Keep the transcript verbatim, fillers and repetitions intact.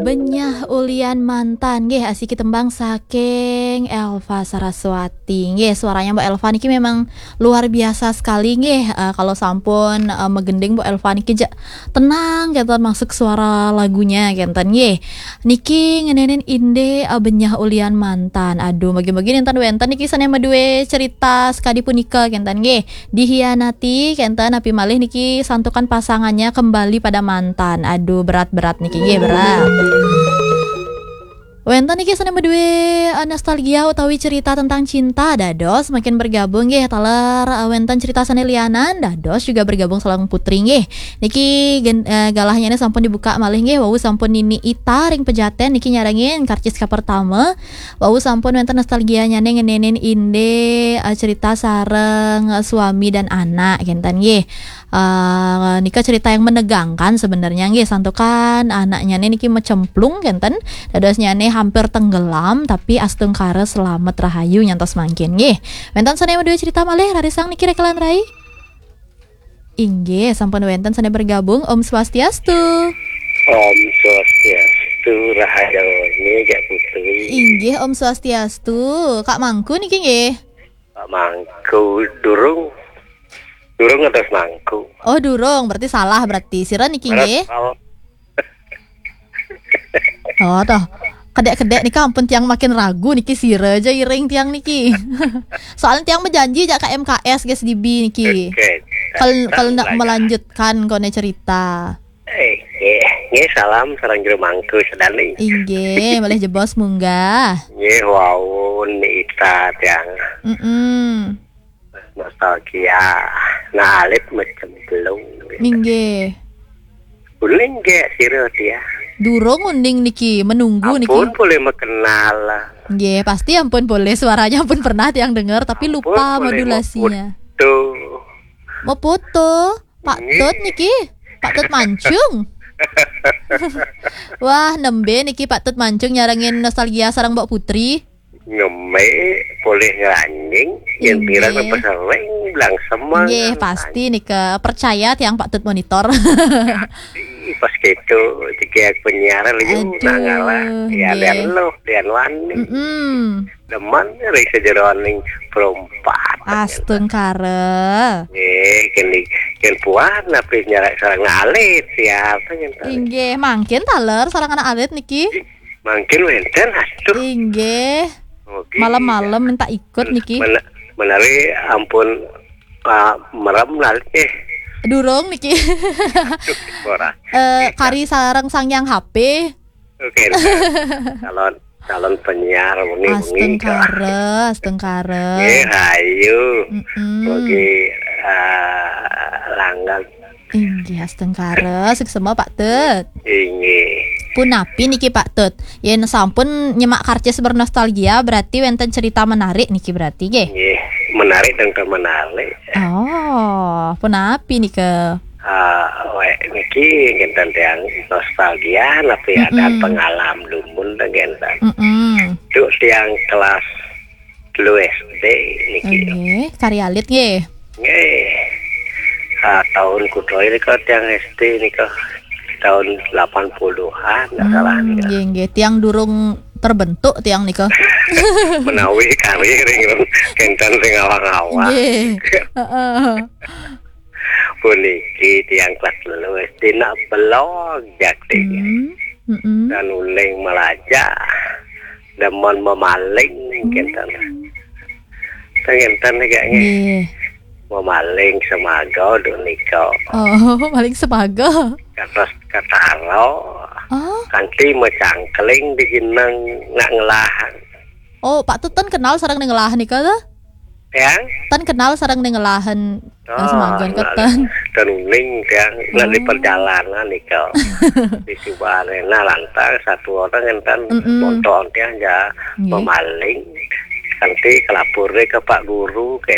Benyah ulian mantan, nggih, asiki tembang saking Elva Saraswati. Nggih, suaranya Mbak Elva niki memang luar biasa sekali, nggih. Eh, kalau sampun, eh, megending Mbak Elva niki ja tenang, kenten, masuk suara lagunya, kenten, nggih. Niki ngeninin inde, eh, Benyah Ulian Mantan. Aduh, bagi-bagi ninten wenten niki sane madue cerita sekadi punika, kenten, nggih. Dihianati, kenten, napi malih niki santukan pasangannya kembali pada mantan. Aduh, berat-berat niki, nggih, berat. Wenten niki sane madue, eh, nostalgia utawi cerita tentang cinta, dados makin bergabung, nggih, taler, eh, wenten cerita sane lianan, dados juga bergabung sareng Putri, nggih. Niki gen-, eh, galahnyane sampun dibuka malih, nggih, wau sampun Nini Ita ring Pejaten niki nyarengin karcis ka pertama. Wau sampun wenten nostalgianyane ngeninin inde, eh, cerita sareng, eh, suami dan anak, kenten, nggih. Eh, nika cerita yang menegangkan sebenarnya, nggih, santukan anaknyane niki macemplung, kenten, dadosnyane hampir tenggelam, tapi astungkara selamet rahayu nyantos mangkin, nggih. Wenten sane madue cerita malih, rarisang niki Rekalan Rai? Inggih, sampun wenten sane bergabung. Om Swastiastu. Om Swastiastu, rahayu nggih, Jak Putri. Inggih, Om Swastiastu. Kak Mangku niki nggih. Pak Mangku durung. Durung atas Mangku. Oh, durung, berarti salah berarti. Sira niki nggih. Salah. Oh, toh. Kedek-kedek nika ampun tiang makin ragu niki, sira ja iring tiang niki. Soalnya tiang bejanji jak ka M K S, guys, S D B niki. Oke. Kal-, kal nak melanjutkan kone cerita. Eh, nggih, nggih, salam sareng jero mangku sedane. Inggih, malih jebos munggah. Nggih, wau Nita tiang. Mm-mm. Nostalgia. Nah, alit macemplung. Inggih. Uning ge sira dia. Durung uning niki, menunggu niki. Ampun, boleh mekenal. Nggih, pasti ampun boleh. Suaranya ampun pernah tiang dengar, tapi ampun, lupa boleh modulasinya. Meputu. Meputu. Pak Tut niki, Pak Tut Mancung. Wah, nembe niki Pak Tut Mancung nyarengin nostalgia sareng Mbok Putri. Ngeme, boleh ngeranjing, yang pirang. Inggih. Apa sering bilang semang. Nggih, pasti nika, percaya tiang Pak Tut monitor. Pasti pas gitu, tiga penyiaran lagi. Aduh, nangala. Ya, nggih. Lian lo, lian wani. Mm-mm. Demen ring sajeroning perompak. Astungkara. Nggih, kene, ken puan napi nyarak sareng alit, siapa ngenten? Inggih, mangkin taler sareng anak alit niki. Mangkin wenten, astuh. Inggih. Oke, malam-malam ya. Minta ikut niki. Mena-, menawi ampun, ah, merem lalit, eh. Durung niki. Aduh, ora. Eh, nggih, kari sareng Sang Hyang H P. Oke, calon, calon penyiar wengi-wengi. Astungkara, astungkara. Nggih, ayu. Mm-mm. Mugi, eh, langgeng. Inggih, astungkara, suksma Pak Tut. Inggih. Punapi niki Pak Tut? Yen sampun nyemak karcis bernostalgia, berarti wenten cerita menarik niki berarti, nggih? Nggih, menarik dan menarik. Oh, punapi nika? Ah, wek niki ngenten tiang nostalgia, napi ada. Mm-mm. Pengalam dumun teh ngenten. Mm-mm. Duk tiang kelas telu S D niki. Nggih, kari alit nggih. Nggih. Ah, tahun kuda ini kok tiang S D nika tahun delapan puluhan, nggak salah nika. Hmm, nggih, nggih. Tiang durung terbentuk tiang nika. Menawi kari ring kenten sing awang-awang. Nggih. Heeh. Puniki tiang kelas telu S D nak belog jakti. Hmm, mm-mm. Dan uling melajah, demen memaling, hmm, ngenten. Ngenten niki, nggih. Nggih. Memaling semaga duk nika. Oh, maling semaga. Kados kataro. Oh. Kanthi mecangkling di gineng nak ngelah. Oh, Pak Tut ten kenal sareng ngelah nika to? Ya? Ten kenal sareng ngelahan, eh, semaga keten. Ten uning tiang, nak di perjalanan nika. Di Subarena lantang satu orang enten. Mm-mm. Montor tiang ja. Nggih. Memaling. Kanthi kelapor ke Pak Guru, ke